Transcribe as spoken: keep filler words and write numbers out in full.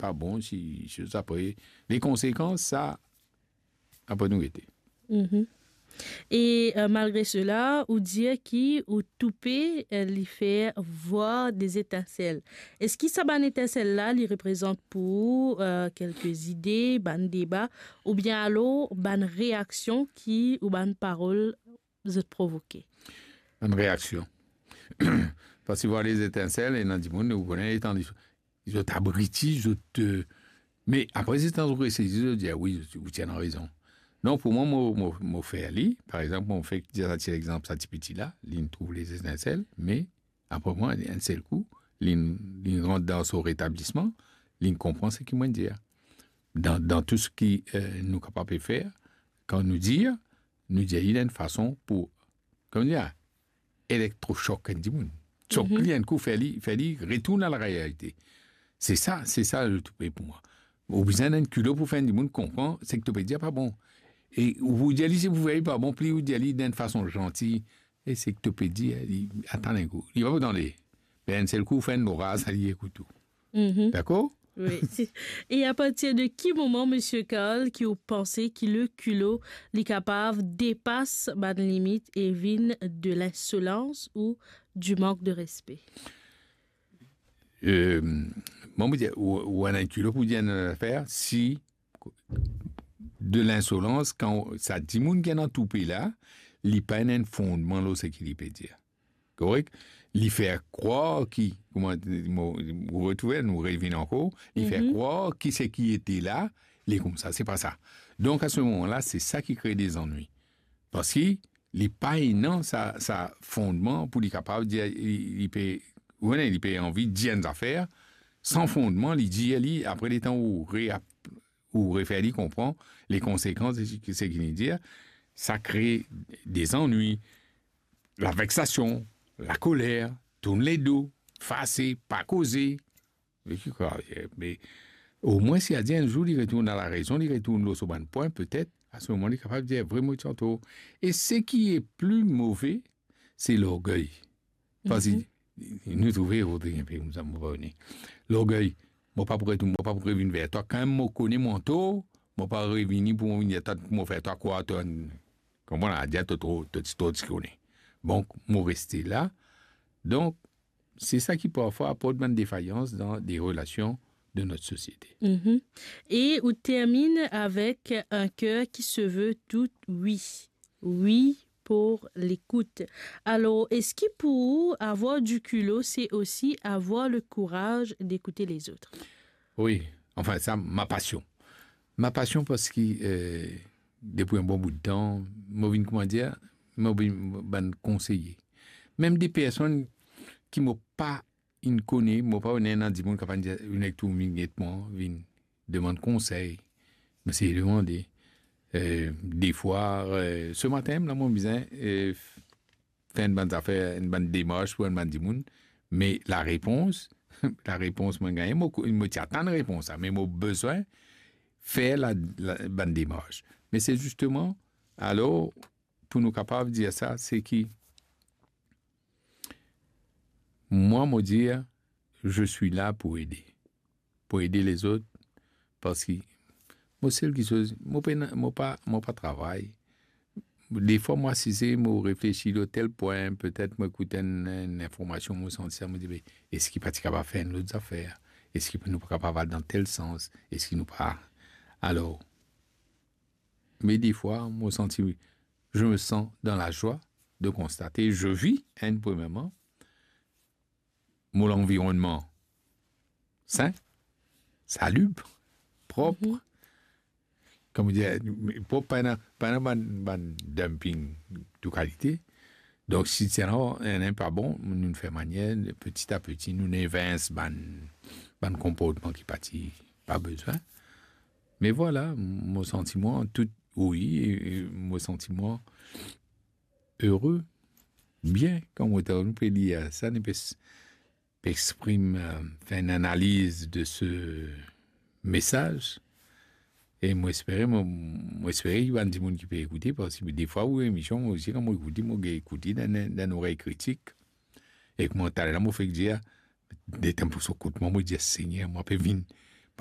pa bon, si, si sa apre, les conséquences, sa, apre nou gete. Mhm. E, euh, malgre sela, ou dir ki ou toupe, euh, li fer vwar de zetansel. Eski sa bann etansel la, li reprezant pou ou, euh, kelke zide, bann deba, oubien alor bann reaksion ki, ou bann parol zot provoke? Bann reaksion. Parski vwar de zetansel, ena dimoun, ou kone, letan li zot abriti, zot, euh, me apre, letan zot resezi, zot dir, "Ah wi, zot, ou ti ena rezon." Non, pou mwa, mo, mo, mo fer li. Par exanp, mo fek dir sa ti lexanp, sa ti piti la, li trouv les étincelles, me apre mwa, enn sel kou, li, li rant dan so retablisman, li konpran seki mo dir. Dan, dan tou seki, euh, nou kapav fer, kan nou dir, nou dir li dan enn fason pou, kouma dir, elektrosok enn dimoun. Sok li enn kou, fer li, fer li retourn a la realite. Se sa, se sa le toupe pou mwa. Ou bizin enn kilo pou fer enn dimoun konpran seki to pe dir pa bon. E ou pou dir li, si pou fer li pa bon, pli ou dir li dan enn fason zanti, e seki to pe dir, li, atann enn kou, li pa pou tande. Me enn sel kou, fer enn loraz, li ekout ou. Mhm. Dakor? Wi. E a partir de ki moman, Monsieur Karl, ki ou panse ki le kilo, li kapav depas bann limit e vinn de l'insolence ou du manque de respect? Euh, mwa, mo dir, ou, ou ena enn kilo pou dir enn zafer, si de l'insolence, kan sa dimoun ki ena toupe la, li pa ena enn fondman lor seki li pe dir. Korek? Li fer krwar ki, kouma mo, ou retrouve, nou revinn ankor, li fer krwar ki seki ete la, li koumsa, se pa sa. Donk, a se moman la, se sa ki kre de zannwi. Parski li pa ena sa, sa fondman pou li kapav dir, li, li pe, ou kone, li pe anvi dir enn zafer, san fondman, li dir li, apre letan ou re-, ou refer li konpran les conséquences de seki li dir, sa kre de zannwi, laveksasion, lakoler, tourn ledo, fase, pa koze. Me ki krwar, me omwin si a dir enn zour li retourn a larezon, li retourn lor so bann pwin, petet, a se moman li kapav dir, "Vre, mo ti antor." E seki e pli move, se lorgey. Parski nou trouve, Rodrig, enpe koumsa, mo pa kone. Lorgey, mo pa pou retourn, mo pa pou revinn ver twa. Kan mo kone mo antor, mo pa revini pou mo vinn ver twa, pou mo fer twa krwar to, konpran, a dir to tro, to ti, to ti kone. Donk, mo reste la. Donk, se sa ki parfwa aport bann defayans dan de relasion de notre société. Mhm. Et on termine avec un cœur qui se veut tout oui. Oui pour l'écoute. Alors, est-ce que pour avoir du culot, c'est aussi avoir le courage d'écouter les autres? Wi, anfin, sa, ma pasion. Ma pasion parski, euh, depi enn bon bout tan, mo vinn, kouma dir, mo vinn bann konseye. Mem de personn ki mo pa inn kone, mo pa kone, ena dimoun kapav dir, vinn ek tou, vinn get mwa, vinn demann konsey. Mo seye demande. Euh, defwa, euh, se matin, la, mo bizin, euh, fer enn bann zafer, enn bann demars pou enn bann dimoun, me larepons, larepons mo gagne, mo, mo ti atann repons la, me mo bizin fer la, la, bann demars. Me se zisteman, alor, pou nou kapav dir sa, se ki, mwa, mo dir, je suis là pour aider. Pou ede lezot, parski mo sel kiksoz, mo pena, mo pa, mo pa travay. Defwa, mo asize, mo reflesi lor tel pwin, petet mo ekout enn, enn informasion, mo santi sa, mo dir, "Be, eski pa ti kapav fer enn lot zafer? Eski nou pa kapav al dan tel sans? Eski nou pa?" Alor, me defwa, mo santi, je me sens dans la joie de constater, je vis, hein, premièrement, mo lanvironnman sin, salib, prop. Mhm. Kouma dir, prop, pa ena, pa ena bann, bann dumping de kalite. Donk, si ti ena, ena pa bon, nou fer manier, peti a peti, nou evins bann, bann konportman ki pa ti, pa bizin. Me vwala, mo santi mwa tout, wi, e, e mo santi mwa ere, bien, kan mo pe lir sa, nou pe s-, pe exprim, euh, fer enn analiz de se mesaz. E mo espere, mo, mo espere ki bann dimoun ki pe ekoute, parski defwa ou emision, mo osi, kan mo ekoute, mo gagn ekoute dan, dan, dan norey kritik. Ek mo, taler la, mo fek dir, detan pou so kout mwa, mo dir, "Segner, mo pe vinn